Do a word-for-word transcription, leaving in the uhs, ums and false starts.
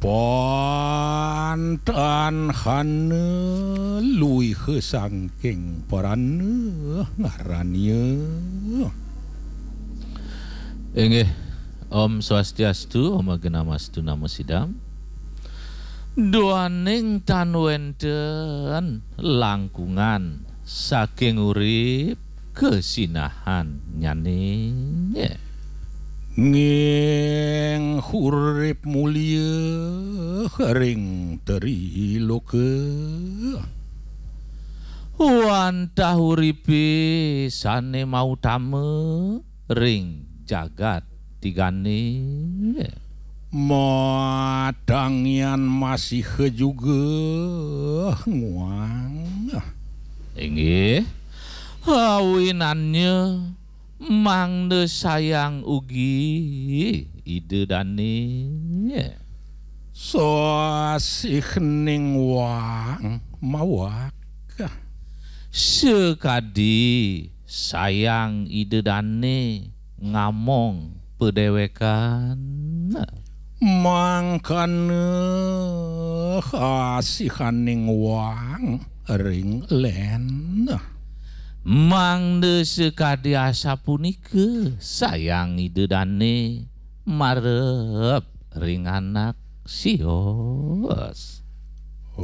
Pantanhana luih sangking parana ngarania. Inggih, Om Swastiastu, Om Agnamastu Namo Sidam. Duaning tan wenten langkungan saking urip kasinahan nyane. Nggih, urip mulia ring triloka. Wantah uripe sane mautama ring jagat tigane. Matangian masih juga nguang. Inggih, awinannya mangda sayang ugi Ida Dane. Sasih ning wang mawak. Sakadi sayang Ida Dane ngamong padewekan. Mangkana asihaning wang ring len. Mangda sakadi asapunika sayang Ida Dane marep ring anak sios.